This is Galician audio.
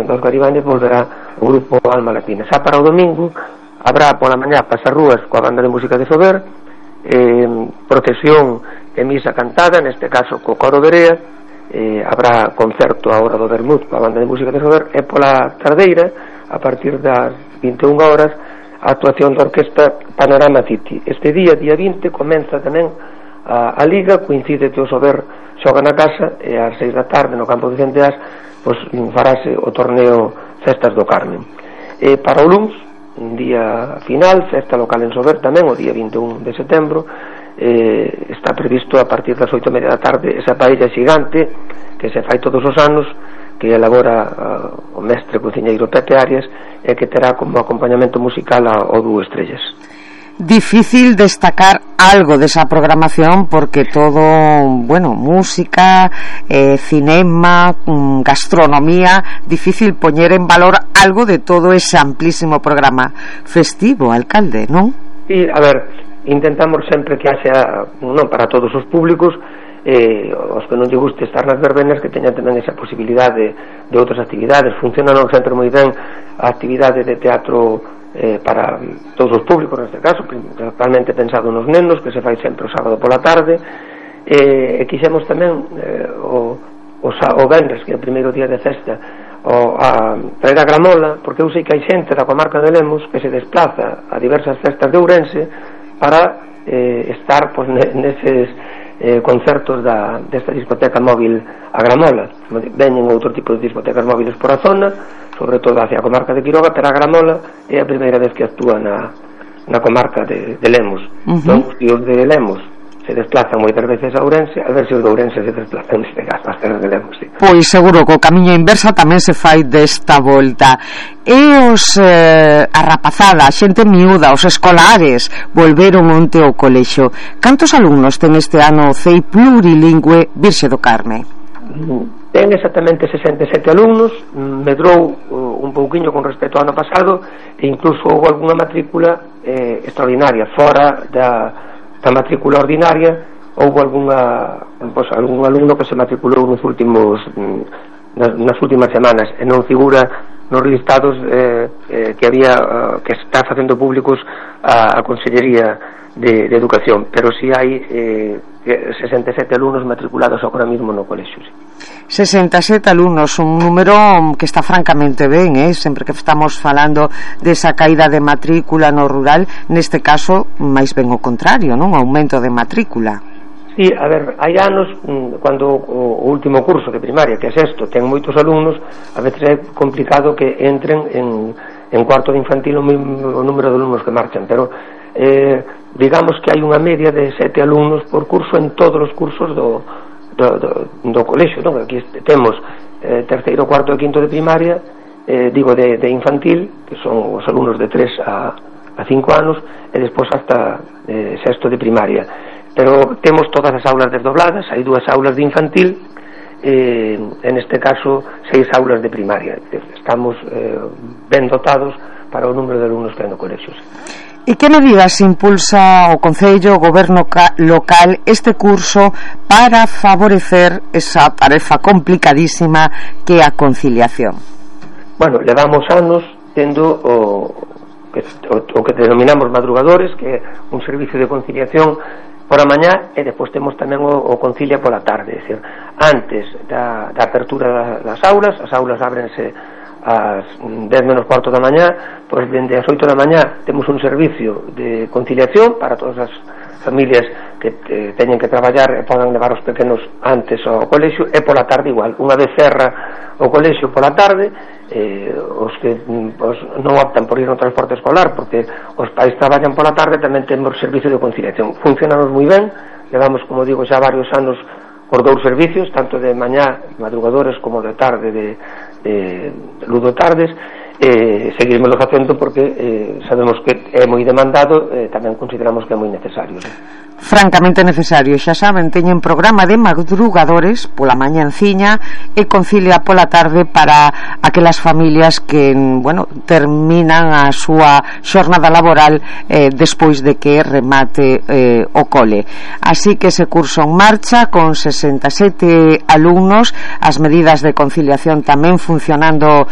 dos Garibañas volverá o grupo Alma Latina. Xa para o domingo habrá pola mañá pasarrúas coa banda de música de Sober, procesión e misa cantada, neste caso co coro Berea, habrá concerto a hora do vermut coa banda de música de Sober, e pola tardeira, a partir das 21 horas, a actuación da orquesta Panorama City. Este día 20, comeza tamén a Liga, coincide que o Sober xoga na casa, e ás 6 da tarde no campo de Centeás pois farase o torneo Festas do Carmen. Para o luns, un día final, festa local en Sober tamén, o día 21 de setembro, está previsto a partir das 8:30 da tarde esa paella xigante que se fai todos os anos, que elabora o mestre cociñeiro Pepe Arias, e que terá como acompañamento musical o Dúo Estrellas. Difícil destacar algo desa programación porque todo, bueno, música, cinema, gastronomía, difícil poñer en valor algo de todo ese amplísimo programa festivo, alcalde, non? Sí, a ver, intentamos sempre que haxa, non para todos os públicos, os que non lle guste estar nas verbenas, que teñan tamén esa posibilidade de outras actividades. Funciona no centro moi ben a actividade de teatro para todos os públicos, neste caso principalmente pensado nos nenos, que se fai sempre o sábado pola tarde, e quixemos tamén o venres, que é o primeiro día de festa, a traer a gramola, porque eu sei que hai xente da comarca de Lemos que se desplaza a diversas festas de Ourense para estar pois, neses concertos desta discoteca móvil a Gramola. Veñen outro tipo de discotecas móviles por a zona, sobre todo hacia a comarca de Quiroga, pero a Gramola é a primeira vez que actúa na comarca de Lemos. Entón, os de Lemos se desplazan moitas veces a Ourense, a ver se os de Ourense se desplazan neste caso as terras de Lemos, sí. Pois seguro que o camiño inversa tamén se fai desta volta. E os a rapazada, a xente miúda, os escolares volveron onte ao colexio. Cantos alumnos ten este ano o CEI plurilingüe Virxe do Carme? Ten exactamente 67 alumnos, medrou un pouquiño con respecto ao ano pasado, e incluso houve algunha matrícula extraordinaria, fora da matrícula ordinaria. Houve algún alumno que se matriculou nas últimas semanas e non figura nos listados que había que está facendo públicos a Consellería de Educación, pero si hai 67 alumnos matriculados agora mesmo no colexio, sí. 67 alumnos, un número que está francamente ben, sempre que estamos falando desa caída de matrícula no rural, neste caso máis ben o contrario, non? Aumento de matrícula. Sí, a ver, hai anos cando o último curso de primaria, que é sexto, ten moitos alumnos, a veces é complicado que entren en cuarto de infantil o número de alumnos que marchan, pero digamos que hai unha media de 7 alumnos por curso en todos os cursos do colexio, non? Aquí temos terceiro, cuarto e quinto de primaria, digo de infantil, que son os alumnos de 3 a 5 anos, e despois hasta sexto de primaria. Pero temos todas as aulas desdobladas, hai 2 aulas de infantil, en este caso 6 aulas de primaria. Estamos ben dotados para o número de alumnos que hai no colexio. E que medidas impulsa o Concello, o Goberno local, este curso para favorecer esa tarefa complicadísima que é a conciliación? Bueno, levamos anos tendo o que denominamos madrugadores, que é un servicio de conciliación por a mañá, e despois temos tamén o concilia pola tarde. É dicir, antes da apertura das aulas, as aulas ábrense ás 10 menos cuarto da mañá, pois dende as 8 da mañá temos un servicio de conciliación para todas as familias que teñen que traballar e podan levar os pequenos antes ao colexio, e pola tarde igual. Unha vez cerra o colexio pola tarde, os que non optan por ir no transporte escolar porque os pais traballan pola tarde, tamén temos servicio de conciliación. Funcionamos moi ben, levamos, como digo, xa varios anos por 2 servicios, tanto de mañá, madrugadores, como de tarde, de ludo tardes, seguirmelo facendo porque sabemos que é moi demandado, tamén consideramos que é moi necesario. Francamente necesario, xa saben, teñen programa de madrugadores pola mañanciña e concilia pola tarde para aquelas familias que, bueno, terminan a súa xornada laboral despois de que remate o cole. Así que ese curso en marcha con 67 alumnos, as medidas de conciliación tamén funcionando